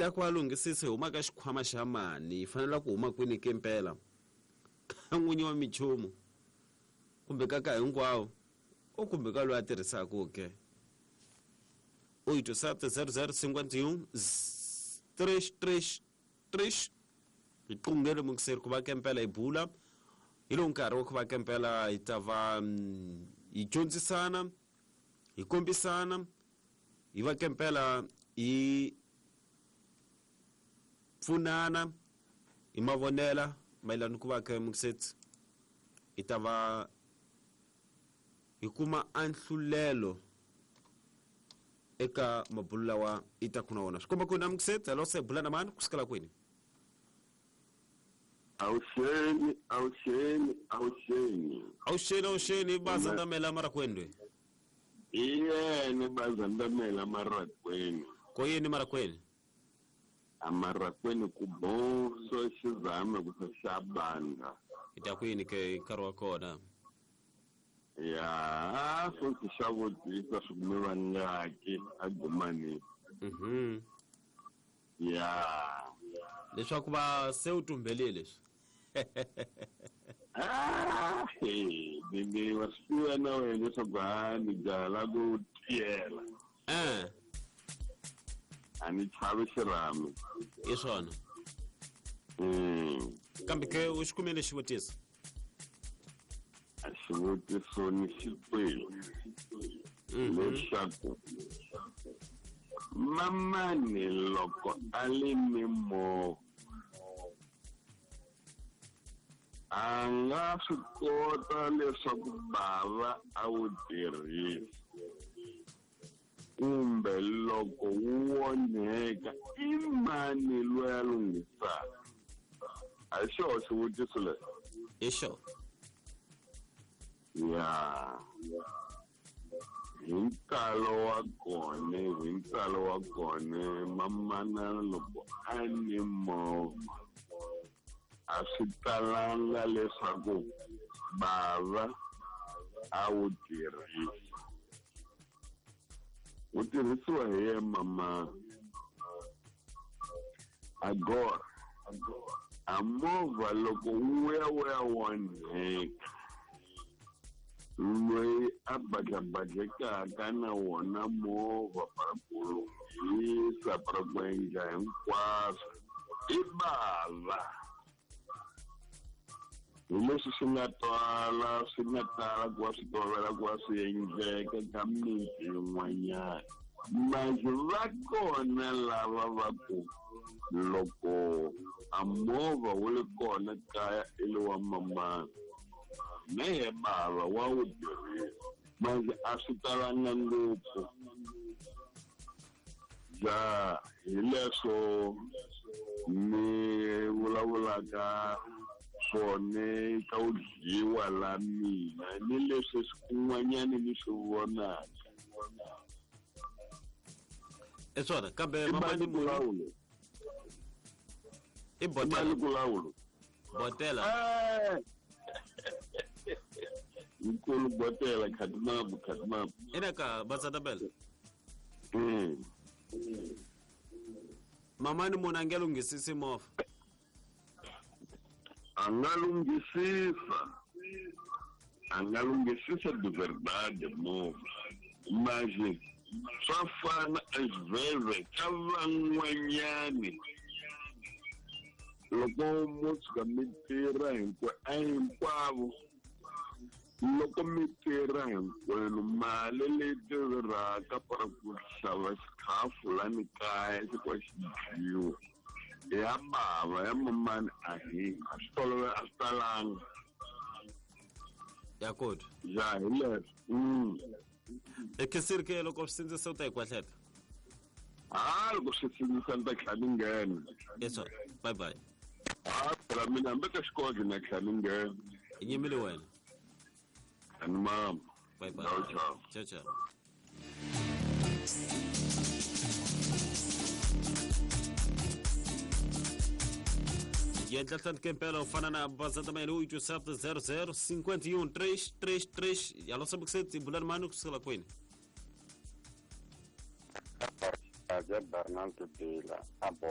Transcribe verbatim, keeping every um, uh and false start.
ya ku va lunghisisa hi huma ka xikhwama xa mani yi fanele ku huma kwini ke mpela ka n'winyi wa minchumu kumbe ka ka hinkwawo o kumbe ka loyi a tirhisaka ke oito sete zero zero cinquenta e um três três três hi qungele mukiseri ku va ke mpela hi bula hi lowu nkarhi wa ku va ke mpela hi ta va hi dyondzisana hi kombisana hi va ke mpela hi pfunana hi mavonela mayelana ku va ke mukiseti hi ta va hi kuma anhlulelo eka mabulu lawa i ta kuna wona swi komba ku na mukiseti hello se bula na mani ku sukela kwini Awuxeni, awuxeni, awuxeni. Awuxeni, awuxeni bazandamela marakwendwe. Iyene bazandamela marakweni. Ko yini marakweni? Amarakweni ku boso xizame ku xabanga. Ita kwini ke nkarhi wa kona? Ya, so xavutisa swikume vangaki agumani. Mhm. Ya. Leswaku va se u tumbelile leswi. Ah, ni wa swi tiva na wena leswaku ha ni jaha la ku tiyela. Eh. A ni chavi xirhami. I swona. Mm. Kambe ke u xi kumile xivutiso? A xivutiso ni xi twile. Leswaku mamani loko a li ni movha a nga swi kota leswaku bava a wu tirhisa kumbe loko wu onheka i mani loyi a lunghisaka? A hi xoho xivutiso lexi? I xona. Ya. Hi ntalo wa kona, hi ntalo wa kona mamana loko a ni movha a swi talanga leswaku bava a wu tirhisa. Wu tirhisiwa hi ye mama. Agora a movha loko wu ya wu ya onheka loyi a badlabadlekaka na wona movha para ku lunghisa para ku endla hinkwaswo i bava. Hi leswi swi nga twala swi nga tala ku va swi tolovela ku va swi endleka ka miti yin'wanyana. Manje va kona lava va ku loko a movha wu li kona kaya i li wa mamana na ye bava wa wu tirhisa manje a swi talanga ngopfu. Ja hi leswo ni vulavulaka swona ka u dyiwa la mina ni leswi kun'wanyani ni swi vonaka. I swona kambe mamani munhu i botela kulawulo botela nkulu botela khatimabu khatimabu ina ka bazandamela. Mm. Mamani munhu a nge lunghisisi movha? A nga lunghisisa, a nga lunghisisa de verdade movha mas swa fana às vezes ka van'wanyani loko mo tshuka mi tirha a hinkwavo loko mi tirha hinkwenu mali leyi tirhaka para ku xava xikhafu lani kaya xi ku xi dyiwa ya bava ya mamani a hi a swi tolovela a swi talanga. Ya kota. Ya hi leswo. Mm. Ekesiri ke loko swi sindzisa u ta yi kwahleta? Ha loko swi sindzisa ni ta tlhela ni nghena. Yes sir. Bye bye. Ha phela mina hambi ka xikolo na tlhela ni nghena. I nyimile wena. Ani mama. Bye bye. Ciao ciao. Ciao ciao. Yendla kempela ufana na bazantamela oito sete zero zero cinquenta e um três três três. Alô sabe que bulani mano kusukela kwini? Bernardo Bila abo